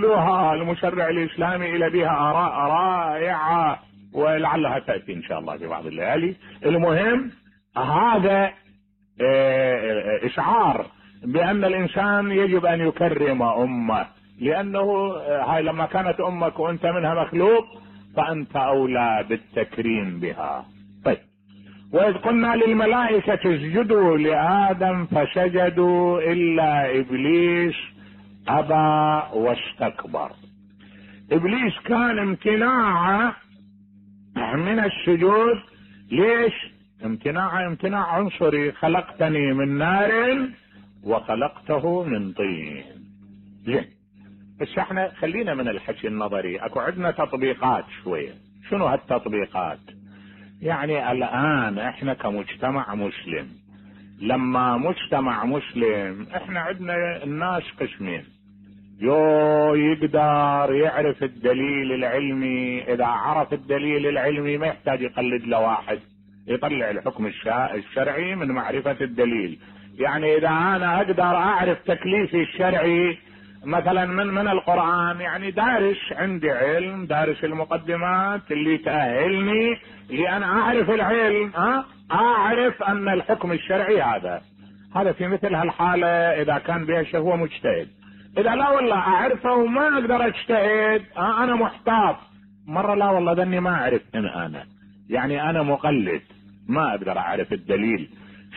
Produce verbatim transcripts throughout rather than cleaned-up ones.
كلها المشرع الاسلامي الى بها اراء رائعة ولعلها تأتي ان شاء الله في بعض الليالي. المهم هذا اشعار بان الانسان يجب ان يكرم امه، لانه هاي لما كانت امك وانت منها مخلوق فانت اولى بالتكريم بها. طيب، واذ قلنا للملائكة اسجدوا لآدم فسجدوا الا ابليس ابى واستكبر. ابليس كان امتناعه من السجود. ليش امتناعه؟ امتناع عنصري، خلقتني من نار وخلقته من طين. زين، بس احنا خلينا من الحكي النظري، اكو عندنا تطبيقات شوية. شنو هالتطبيقات؟ يعني الان احنا كمجتمع مسلم، لما مجتمع مسلم احنا عندنا الناس قسمين، يو يقدر يعرف الدليل العلمي، اذا عرف الدليل العلمي ما يحتاج يقلد له واحد، يطلع الحكم الشرعي من معرفة الدليل. يعني اذا انا اقدر اعرف تكليفي الشرعي مثلا من من القرآن، يعني دارس، عندي علم، دارس المقدمات اللي تأهلني لان اعرف العلم، ها اعرف ان الحكم الشرعي هذا هذا في مثل هالحالة اذا كان بها شيء هو مجتهد. اذا لا والله اعرفه وما اقدر اجتهد، ها انا محتاط مرة، لا والله ذني ما اعرف ان انا يعني انا مقلد ما اقدر اعرف الدليل.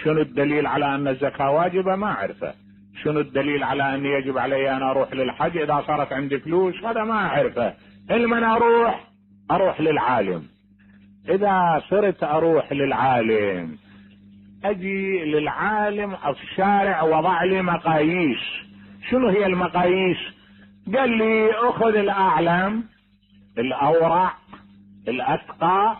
شنو الدليل على ان الزكاة واجبة؟ ما اعرفه. شنو الدليل على ان يجب علي ان اروح للحج اذا صارت عندي فلوس؟ هذا ما اعرفه. لمن اروح؟ اروح للعالم. اذا صرت اروح للعالم، اجي للعالم الشارع وضع لي مقاييس. شنو هي المقاييس؟ قال لي اخذ الاعلم، الاورع، الاتقى،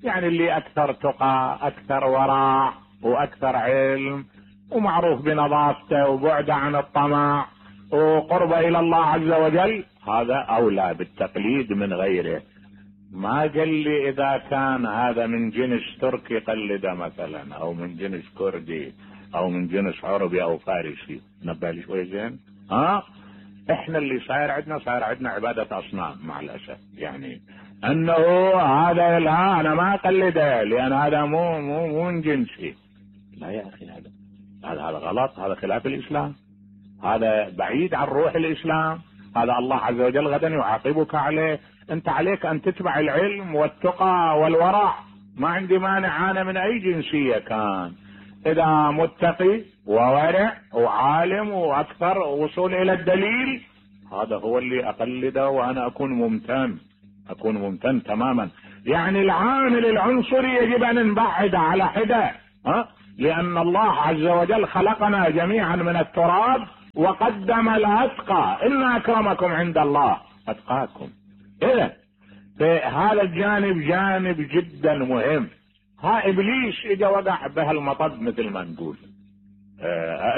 يعني اللي اكثر تقى، اكثر ورع، واكثر علم، ومعروف بنظافته وبعده عن الطمع وقربه الى الله عز وجل، هذا اولى بالتقليد من غيره. ما قال لي اذا كان هذا من جنس تركي قلده مثلا، او من جنس كردي، او من جنس عربي او فارسي. نبه لي شوي زين. ها احنا اللي صاير عندنا صاير عندنا عبادة اصنام مع الاسف، يعني انه هذا لا انا ما اقلده لان هذا مو مو مو من جنسي. لا يا اخي، هذا هذا هذا غلط، هذا خلاف الاسلام، هذا بعيد عن روح الاسلام، هذا الله عز وجل غدا يعاقبك عليه. انت عليك ان تتبع العلم والتقى والورع. ما عندي مانع انا من اي جنسية كان، اذا متقي وورع وعالم واكثر وصول الى الدليل، هذا هو اللي اقلده وانا اكون ممتن، اكون ممتن تماما. يعني العامل العنصري يجب ان نبعد على حدة، ها لان الله عز وجل خلقنا جميعا من التراب وقدم الاتقى، ان اكرمكم عند الله اتقاكم. اذا هذا الجانب جانب جدا مهم. ها ابليس اجا وقع بهالمطب مثل ما نقول،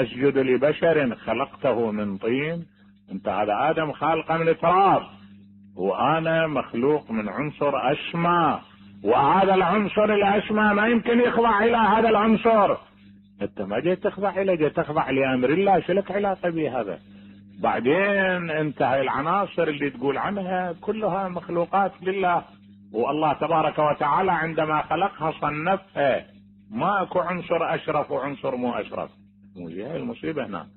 اسجد لبشر خلقته من طين. انت هذا ادم خالقه من تراب، وانا مخلوق من عنصر اسمى، وهذا العنصر الاسمى ما يمكن يخضع الى هذا العنصر. انت ما جيت تخضع اليه، جيت تخضع لامر الله، شلك علاقه به هذا؟ بعدين انت هاي العناصر اللي تقول عنها كلها مخلوقات لله، والله تبارك وتعالى عندما خلقها صنفها، ما اكو عنصر اشرف وعنصر مو اشرف. مو هاي المصيبه هنا.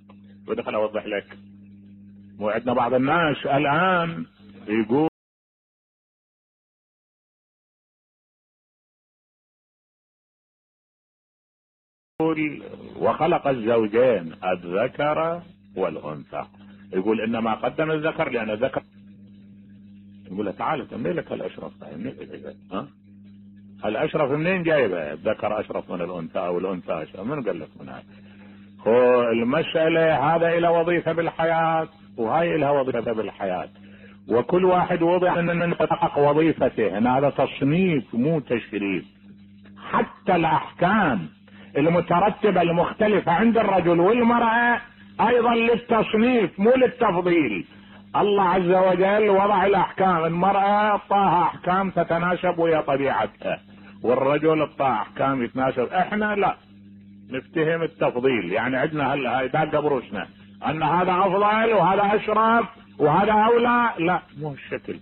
ودخل اوضح لك، مو عندنا بعض الناس الان يقول وخلق الزوجين الذكر والانثى، يقول انما قدم الذكر لان الذكر، يقول له تعال تمني لك الاشرف، ها الاشرف منين جايبه؟ الذكر اشرف من الانثى او الانثى اشرف؟ من قال لك من هذا؟ هو المسألة هذا له وظيفة بالحياة وهاي لها وظيفة بالحياة، وكل واحد وضع ان يحقق وظيفته. هنا هذا تصنيف مو تشريف. حتى الاحكام المترتبة المختلفة عند الرجل والمرأة ايضا للتصنيف مو للتفضيل. الله عز وجل وضع الاحكام، المرأة اعطاها احكام تتناسب ويا طبيعتها، والرجل اعطاه احكام يتناسب. احنا لا نفتهم التفضيل، يعني عندنا هاي داق بروسنا ان هذا افضل وهذا اشرف وهذا اولى. لا، مو الشكل.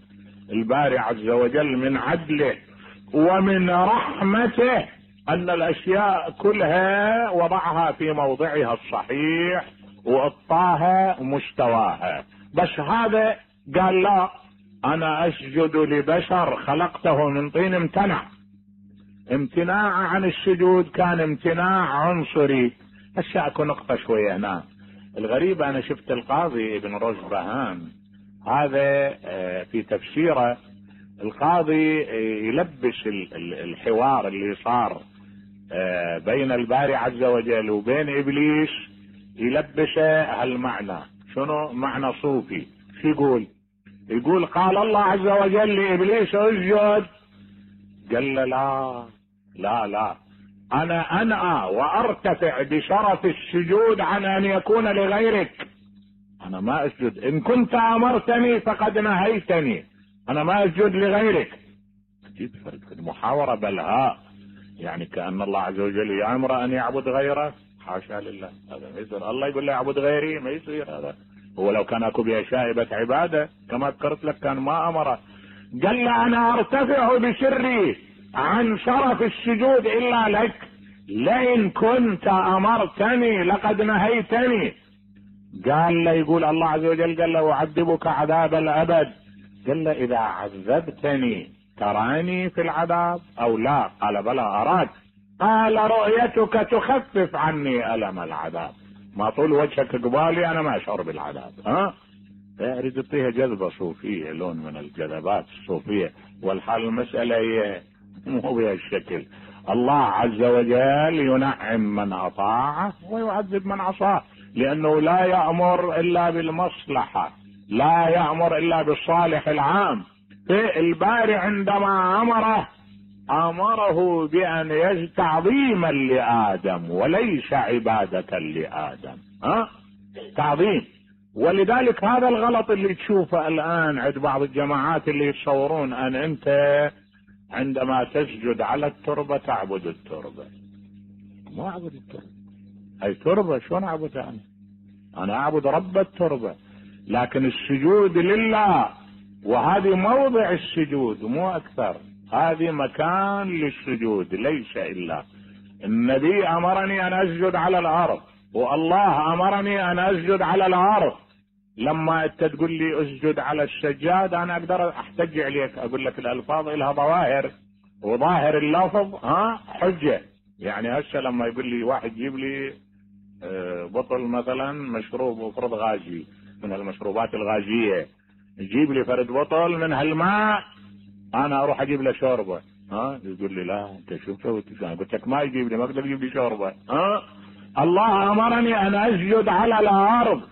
الباري عز وجل من عدله ومن رحمته ان الاشياء كلها وضعها في موضعها الصحيح واعطاها مستواها. بس هذا قال لا، انا اسجد لبشر خلقته من طين، امتنع. امتناع عن السجود كان امتناع عنصري. هسه اكو نقطة شوية هنا. الغريب انا شفت القاضي ابن رشبهان هذا في تفسيره، القاضي يلبس الحوار اللي صار بين الباري عز وجل وبين ابليس، يلبسه هالمعنى. شنو معنى صوفي؟ شو يقول؟ يقول قال الله عز وجل لابليس اسجد، قال له لا لا لا، انا انأى وارتفع بشرف السجود عن ان يكون لغيرك. انا ما اسجد، ان كنت امرتني فقد نهيتني، انا ما اسجد لغيرك. اكيد محاورة بلهاء، يعني كأن الله عز وجل يأمر ان يعبد غيره. حاشا لله، هذا ما يصير. الله يقول له اعبد غيري، ما يصير هذا. هو لو كان اكو بها شائبة عبادة كما ذكرت لك كان ما امره. قال له انا ارتفع بسري عن شرف السجود الا لك، لئن كنت امرتني لقد نهيتني. قال له، يقول الله عز وجل قال له اعذبك عذاب الابد. قال له اذا عذبتني تراني في العذاب او لا؟ قال بلى اراك. قال رؤيتك تخفف عني الم العذاب، ما طول وجهك قبالي انا ما اشعر بالعذاب. ها يريد يعطيها جذبة صوفية، لون من الجذبات الصوفية، والحال المسألة هي مو بها الشكل. الله عز وجل ينعم من اطاعه ويعذب من عصاه، لانه لا يأمر الا بالمصلحة، لا يأمر الا بالصالح العام. الباري عندما امره امره بان يجد تعظيما لادم وليس عبادة لادم. ها تعظيم. ولذلك هذا الغلط اللي تشوفه الان عند بعض الجماعات اللي يتصورون ان انت عندما تسجد على التربة تعبد التربة. ما اعبد التربة، هاي تربة شلون اعبدها انا؟ انا اعبد رب التربة. لكن السجود لله، وهذه موضع السجود مو اكثر، هذه مكان للسجود ليس الا. النبي امرني ان اسجد على الارض، والله امرني ان اسجد على الارض. لما انت تقول لي اسجد على السجاد انا اقدر احتج عليك، اقول لك الالفاظ لها ظواهر، وظاهر اللفظ ها حجة. يعني هسه لما يقول لي واحد جيب لي بطل مثلا مشروب وفرض غازي من المشروبات الغازية، يجيب لي فرد بطل من هالماء، انا اروح اجيب له شوربة. ها يقول لي لا انت شو سويت؟ قلت لك ما يجيب لي، ما اقدر اجيب لي شوربة. ها الله امرني ان اسجد على الارض.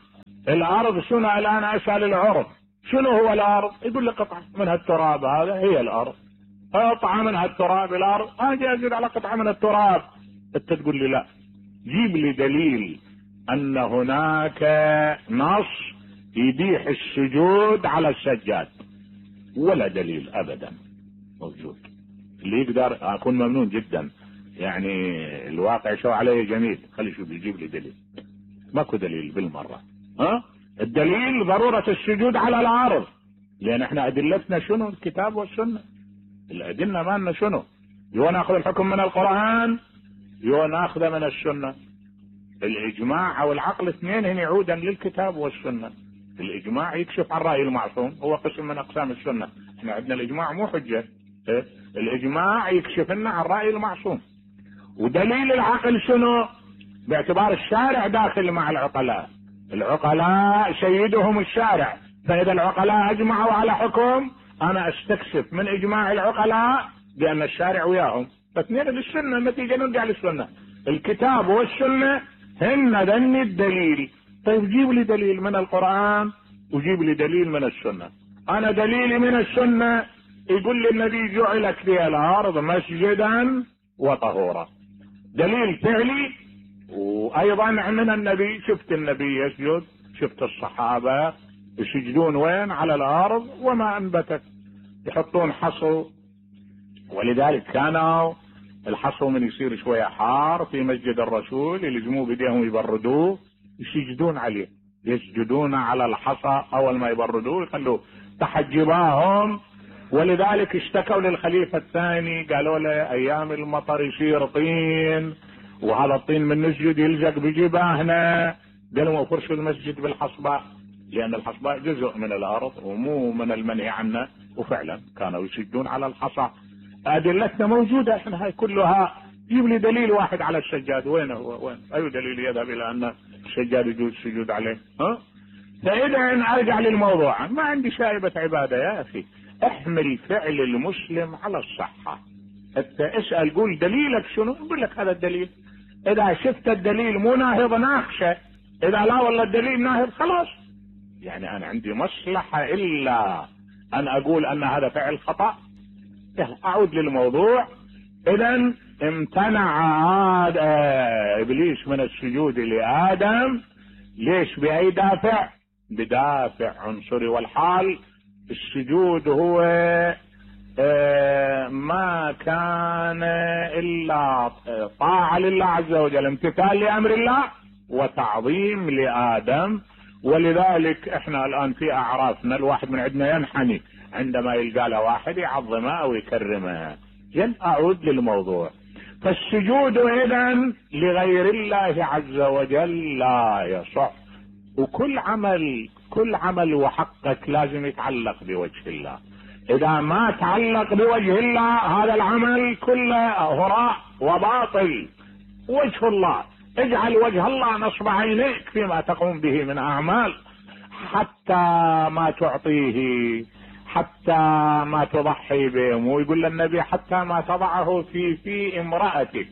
الارض شنو الان؟ اسال العرف شنو هو الارض؟ يقول لي قطعة من هالتراب، هذا هي الارض. قطعة من هالتراب الارض، اجي اسجد على قطعة من التراب. انت تقول لي لا، جيب لي دليل ان هناك نص يبيح السجود على السجاد. ولا دليل ابدا موجود. اللي يقدر اكون ممنون جدا، يعني الواقع شو عليه جميل، خلي شوف يجيب لي دليل. ماكو دليل بالمرة. ها الدليل ضرورة السجود على الارض، لان احنا ادلتنا شنو؟ الكتاب والسنة. الادلة مالنا شنو؟ يو ناخذ الحكم من القرآن، يو ناخذه من السنة. الاجماع او العقل اثنين هن يعودا للكتاب والسنة. الاجماع يكشف عن رأي المعصوم، هو قسم من اقسام السنة. احنا عندنا الاجماع مو حجة، إيه؟ الاجماع يكشف لنا عن رأي المعصوم. ودليل العقل شنو؟ باعتبار الشارع داخل مع العقلاء، العقلاء سيدهم الشارع، فاذا العقلاء اجمعوا على حكم انا استكشف من اجماع العقلاء بان الشارع وياهم، فاثنين للسنة، النتيجة نرجع للسنة. الكتاب والسنة هن ذني الدليل. طيب جيب لي دليل من القرآن وجيب لي دليل من السنة. انا دليلي من السنة يقول لي النبي جعلت لي الارض مسجدا وطهورا، دليل فعلي. وايضا من النبي، شفت النبي يسجد، شفت الصحابة يسجدون وين؟ على الارض وما انبتت، يحطون حصو. ولذلك كانوا الحصو من يصير شوية حار في مسجد الرسول يلزموه بديهم يبردوه، يسجدون عليه يسجدون على الحصى، اول ما يبردوه يخلوه تحت جباههم. ولذلك اشتكوا للخليفة الثاني، قالوا له ايام المطر يصير طين، وهذا الطين من نسجد يلزق بجباهنا. قالوا فرشوا المسجد بالحصباء، لان الحصباء جزء من الارض ومو من المنهي عنه. وفعلا كانوا يسجدون على الحصى. ادلتنا موجودة احنا هاي كلها. جيب لي دليل واحد على السجاد، وين هو؟ وين اي دليل يذهب الى ان السجاد يجوز السجود عليه؟ ها؟ فاذا ارجع للموضوع، ما عندي شائبة عبادة يا اخي. احمل فعل المسلم على الصحة. انت اسأل قول دليلك شنو، يقول لك هذا الدليل. اذا شفت الدليل مو ناهض ناقشه، اذا لا والله الدليل ناهض خلاص. يعني انا عندي مصلحة الا ان اقول ان هذا فعل خطأ. اعود للموضوع. اذا امتنع آد... ابليس من السجود لآدم. ليش؟ باي دافع؟ بدافع عنصري. والحال السجود هو ما كان الا طاعة لله عز وجل، امتثال لامر الله وتعظيم لآدم. ولذلك احنا الان في اعرافنا الواحد من عندنا ينحني عندما يلقى له واحد يعظمه او يكرمه. جن اعود للموضوع. فالسجود اذا لغير الله عز وجل لا يصح. وكل عمل كل عمل وحقك لازم يتعلق بوجه الله. اذا ما تعلق بوجه الله هذا العمل كله هراء وباطل. وجه الله، اجعل وجه الله نصب عينيك فيما تقوم به من اعمال، حتى ما تعطيه، حتى ما تضحي به. ويقول النبي حتى ما تضعه في في امرأتك.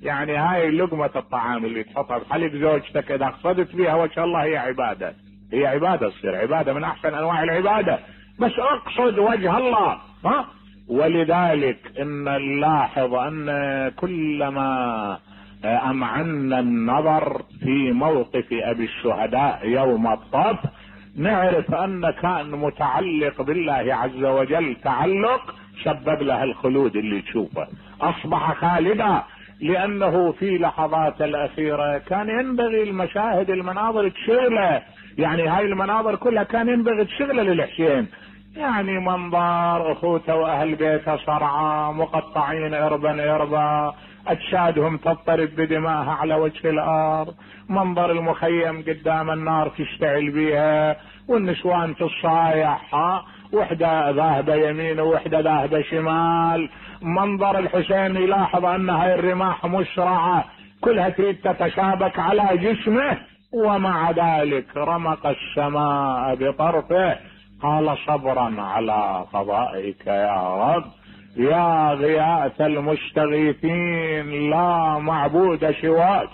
يعني هاي لقمة الطعام اللي تحطها بحلق زوجتك، اذا قصدت بها وجه الله هي عبادة. هي عبادة، تصير عبادة من احسن انواع العبادة، بس اقصد وجه الله. ها؟ ولذلك ان نلاحظ ان كلما امعنا النظر في موقف ابي الشهداء يوم الطف نعرف ان كان متعلق بالله عز وجل تعلق سبب له الخلود اللي تشوفه. اصبح خالدا لانه في لحظات الاخيرة كان ينبغي المشاهد المناظر تشغله. يعني هاي المناظر كلها كان ينبغي تشغله للحسين. يعني منظر اخوته واهل بيته صرعى مقطعين اربا اربا، اجسادهم تضطرب بدمائها على وجه الارض، منظر المخيم قدام النار تشتعل بيها، والنسوان تصايح، وحده ذاهبه يمين ووحده ذاهبه شمال. منظر الحسين يلاحظ ان هاي الرماح مسرعه كلها تريد تتشابك على جسمه، ومع ذلك رمق السماء بطرفه قال صبرا على قضائك يا رب، يا غياث المستغيثين لا معبود سواك.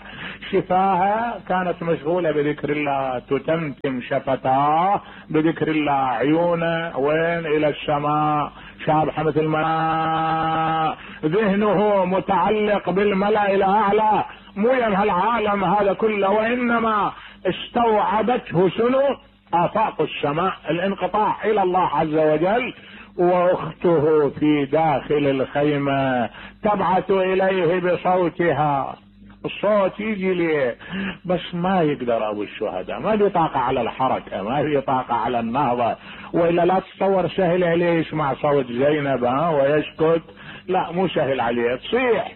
شفاها كانت مشغولة بذكر الله، تتمتم شفتاه بذكر الله، عيونه وين؟ الى السماء، شابحة مثل ما ذهنه متعلق بالملأ الاعلى، مو يم العالم هذا كله، وانما استوعبته شنو؟ آفاق السماء، الانقطاع الى الله عز وجل. واخته في داخل الخيمة تبعث اليه بصوتها. الصوت يجي ليه بس ما يقدر ابو الشهداء، ما في طاقة على الحركة، ما في طاقة على النهضة. والا لا تصور سهل عليه يسمع صوت زينب ها ويسكت، لا مو سهل عليه. تصيح